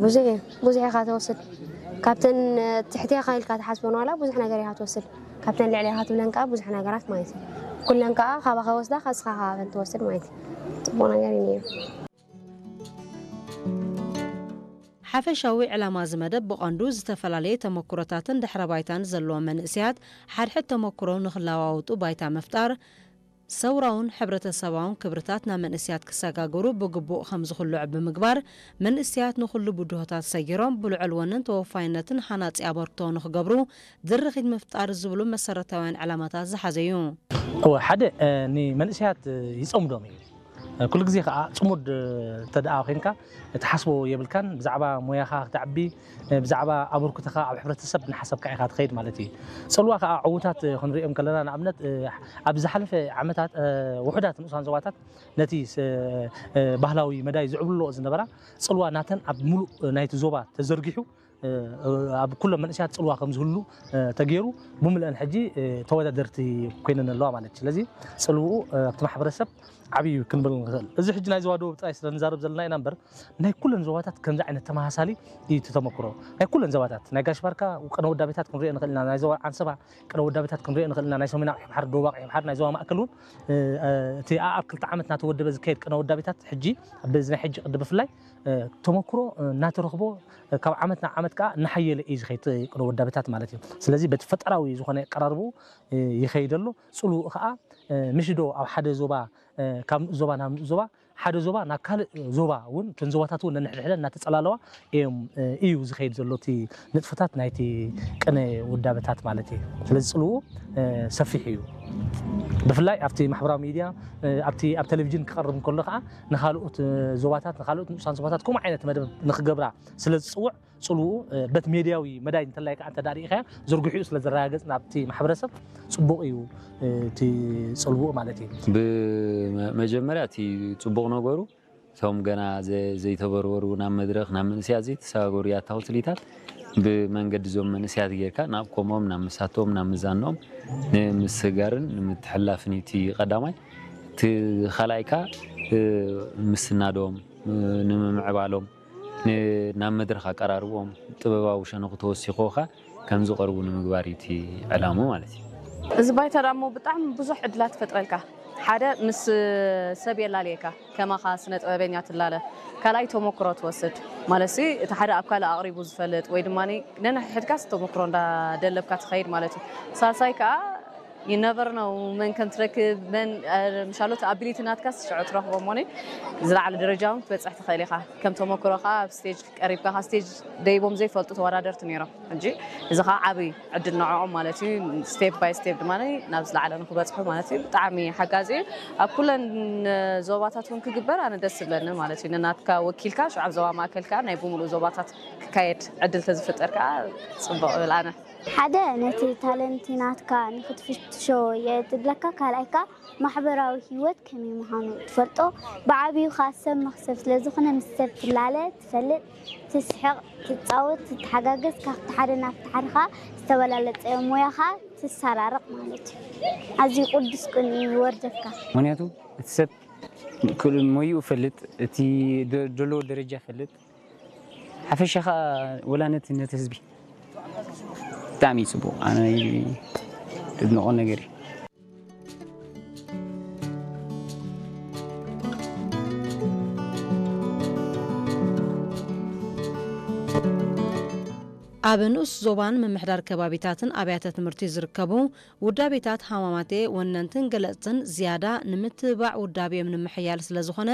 ብዙሕ እዩ። ብዙሕ ኢኻ ትወስድ። ካብተን ትሕቴኻ ኢልካ ትሓስበን ዋላ ብዙሕ ነገር ኢኻ ትወስድ። ካብተን ልዕሌኻ ትብለን ከዓ ብዙሕ ነገራት ማለት እዩ። ኩለን ከዓ ካባኻ ወስዳ፣ ካስኻ ካባበን ትወስድ ማለት እዩ። ጽቡቕ ነገር እዩ ነይሩ። ሓፈሻዊ ዕላማ እዚ መደብ ብቐንዱ ዝተፈላለየ ተመክሮታትን ድሕረ ባይታን ዘለዎም መንእሰያት ሓድሕድ ተመክሮ ንኽለዋወጡ ባይታ ምፍጣር፣ ሰውራውን ሕብረተሰባውን ክብርታት ናብ መንእሰያት ክሰጋገሩ ብግቡእ ከም ዝኽልዑ ብምግባር፣ መንእሰያት ንኹሉ ብድሆታት ሰጊሮም ብልዑል ወንን ተወፋይነትን ሃናጺ ኣበርክቶ ንኽገብሩ ድርኺት ምፍጣር ዝብሉ መሰረታውያን ዕላማታት ዝሓዘ እዩ። እወ፣ ሓደ ንመንእሰያት ይፀምዶም እዩ። ኩሉ ግዜ ከዓ ፅሙድ እንተ ደኣ ኮይንካ ትሓስቦ የብልካን። ብዛዕባ ሞያኻ ክተዕቢ፣ ብዛዕባ ኣበርክቶኻ ኣብ ሕብረተሰብ እናሓሰብካ ኢኻ ትኸይድ ማለት እዩ። ፅልዋ ከዓ ዕዉታት ክንሪኦም ከለና ንኣብነት ኣብ ዝሓለፈ ዓመታት ውሑዳት ንኡሳን ዞባታት ነቲ ባህላዊ መዳይ ዝዕብልዎ ዝነበራ ፅልዋ ናተን ኣብ ሙሉእ ናይቲ ዞባ ተዘርጊሑ ኣብ ኩሎም መንእሰያት ፅልዋ ከም ዝህሉ ተገይሩ ብምልአን ሕጂ ተወዳደርቲ ኮይነን ኣለዋ ማለት እዩ። ስለዚ ፅልውኡ ኣብቲ ማሕበረሰብ ዓብዩ ክንብል ንኽእል። እዚ ሕጂ ናይ ዞባ ደቡብ ጥራይ ስለ ንዛረብ ዘለና ኢና እምበር ናይ ኩለን ዞባታት ከምዚ ዓይነት ተመሳሳሊ እዩ እቲ ተመክሮ። ናይ ኩለን ዞባታት ናይ ጋሽ ባርካ ቅነ ወዳቤታት ክንሪኦ ንኽእል ኢና፣ ናይ ዞባ ዓንሰባ ቅነ ወዳቤታት ክንሪኦ ንኽእል ኢና፣ ናይ ሰሜን ኣቕሑ ባሕሪ፣ ደቡብ ኣቕሑ ባሕሪ፣ ናይ ዞባ ማእከል እውን እቲ ኣኣብ ክልተ ዓመት እናተወደበ ዝካየድ ቅነ ወዳቤታት ሕጂ ኣብዚ ናይ ሕጂ ቅዲ ብፍላይ ተመክሮ እናተረኽቦ ካብ ዓመት ናብ ዓመት ከዓ እናሓየለ እዩ ዝኸይድ ቅነ ወዳቤታት ማለት እዩ። ስለዚ በቲ ፈጠራዊ ዝኾነ ኣቀራርብኡ ይኸይድ ኣሎ። ፅልውኡ ከዓ ምሽ ዶ ኣብ ሓደ ዞባ ካብ ንኡስ ዞባ ናብ ንኡስ ዞባ ሓደ ዞባ ናብ ካልእ ዞባ እውን እተን ዞባታት እውን ነንሕድሕደን እናተፀላለዋ እዮም እዩ ዝኸይድ ዘሎ እቲ ንጥፈታት ናይቲ ቅነ ውዳበታት ማለት እዩ። ስለዚ ፅልውኡ ሰፊሕ እዩ። ብፍላይ ኣብቲ ማሕበራዊ ሚድያ ኣብቲ ኣብ ቴሌቪዥን ክቐርብ እንከሎ ከዓ ንካልኦት ዞባታት ንካልኦት ንኡሳን ዞባታት ከምኡ ዓይነት መደብ ንክገብራ ስለ ዝፅውዕ ፅልውኡ በቲ ሜድያዊ መዳይ እንተላይ ከዓ እንተ ሪኢኻያ ዝርግሕኡ ስለ ዘረጋገፅ ናብቲ ማሕበረሰብ ፅቡቕ እዩ እቲ ፅልውኡ ማለት እዩ። ብመጀመርያ እቲ ፅቡቕ ነገሩ እቶም ገና ዘይተበርበሩ ናብ መድረኽ ናብ መንእሰያት ዘይተሰጋገሩ ያታዊ ትልኢታት ብመንገዲ እዞም መንእሰያት ጌርካ ናብ ኮሞም ናብ ምሳቶም ናብ ምዛንኦም ንምስጋርን ንምትሕላፍን እዩ እቲ ቀዳማይ። እቲ ካልኣይ ከዓ ምስናዶም ንምምዕባሎም ናብ መድረኽ ኣቀራርብኦም ጥበባዊ ሸነኹ ተወሲኽዎ ከኣ ከም ዝቐርቡ ንምግባር እዩ እቲ ዕላምኡ ማለት እዩ። እዚ ባይታ ደኣ እሞ ብጣዕሚ ብዙሕ ዕድላት ይፈጥረልካ። ሓደ ምስ ሰብ የላልየካ፣ ከማኻ ስነ ጥበበኛ ትላለ። ካልኣይ ተመክሮ ትወስድ ማለትሲ እቲ ሓደ ኣብ ካልእ ኣቕሪቡ ዝፈልጥ ወይ ድማ ነንሕድሕድካስ ተመክሮ እንዳደለብካ ትኸይድ ማለት እዩ። ሳልሳይ ከኣ you never know መን ከም ትረክብ መን ምሻሎት ኣቢሊቲ ናትካስ ሽዑ ትረኽቦ እሞኒ ዝለዓለ ደረጃ እውን ክትበፅሕ ትኽእል ኢኻ። ከም ተመክሮ ከኣ ኣብ ስቴጅ ቀሪብካ ካብ ስቴጅ ደይቦም ዘይፈልጡ ተወዳደርቲ ነይሮም። ሕጂ እዚ ከዓ ዓብዪ ዕድል ንዕኦም ማለት እዩ። ስቴፕ ባይ ስቴፕ ድማ ናብ ዝለዓለ ንክበፅሑ ማለት እዩ። ብጣዕሚ ሓጋዚ እዩ። ኣብ ኩለን ዞባታት እውን ክግበር ኣነ ደስ ዝብለኒ ማለት እዩ። ንናትካ ወኪልካ ሽዑ ኣብ ዞባ ማእከል ከዓ ናይ ብምሉእ ዞባታት ክካየድ ዕድል ተዝፍጠር ከዓ ፅቡቕ እብል ኣነ። ሓደ ነቲ ታለንቲ ናትካ ንክትፍትሾ የድለካ፣ ካልኣይ ከዓ ማሕበራዊ ህይወት ከመይ ምዃኑ ትፈልጦ፣ ብዓብዩ ከኣ ሰብ መኽሰብ ስለዝኾነ ምስ ሰብ ትላለ፣ ትፈልጥ፣ ትስሕቕ፣ ትጻወት፣ ትተሓጋገዝ፣ ካብቲ ሓደ ናብቲ ሓደ ከኣ ዝተበላለጸ ሞያኻ ትሰራርቕ ማለት እዩ። ኣዝዩ ቅዱስ ቅንኢ ይወርደካ። ምኽንያቱ እቲ ሰብ ሞይኡ ይፈልጥ፣ እቲ ዘለዎ ደረጃ ይፈልጥ፣ ሓፈሻ ከዓ ወላ ነቲ ነቲ ህዝቢ ብጣዕሚ እዩ ፅቡቕ ኣነ ድድንቖ ነገር እዩ። ኣብ ንኡስ ዞባን ምምሕዳር ከባቢታትን ኣብያተ ትምህርቲ ዝርከቡ ውዳቤታት ሃማማቴ ወነንትን ገለፅትን ዝያዳ ንምትብባዕ ውዳቤኦም ንምሕያል ስለዝኾነ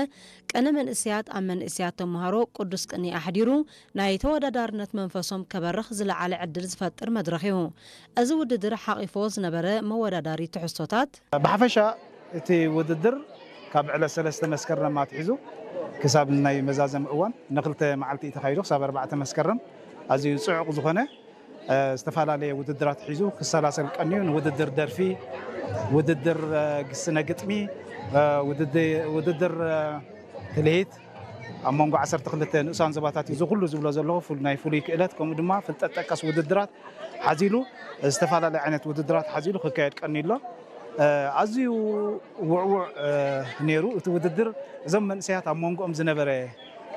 ቅነ መንእሰያት ኣብ መንእሰያት ተምሃሮ ቅዱስ ቅኒ ኣሕዲሩ ናይ ተወዳዳርነት መንፈሶም ከበርኽ ዝለዓለ ዕድል ዝፈጥር መድረኽ እዩ። እዚ ውድድር ሓቒፎ ዝነበረ መወዳዳሪ ትሕዝቶታት። ብሓፈሻ እቲ ውድድር ካብ ዕለት ሰለስተ መስከረም ኣትሒዙ ክሳብ ናይ መዛዘሚ እዋን ንክልተ መዓልቲ እዩ ተኻይዱ ክሳብ ኣርባዕተ መስከረም ኣዝዩ ፅዑቕ ዝኾነ ዝተፈላለየ ውድድራት ሒዙ ክሰላሰል ቀንዩ ንውድድር ደርፊ፣ ውድድር ግስነ ግጥሚ፣ ውድድር ትልሂት ኣብ መንጎ ዓሰርተ ክልተ ንኡሳን ዞባታት እዩ። እዚ ኩሉ ዝብሎ ዘለኹ ናይ ፍሉይ ክእለት ከምኡ ድማ ፍልጠት ጠቀስ ውድድራት ሓዚሉ ዝተፈላለየ ዓይነት ውድድራት ሓዚሉ ክካየድ ቀንዩ ኣሎ። ኣዝዩ ውዕዉዕ ነይሩ እቲ ውድድር። እዞም መንእሰያት ኣብ መንጎኦም ዝነበረ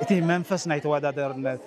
እቲ መንፈስ ናይ ተወዳዳርነት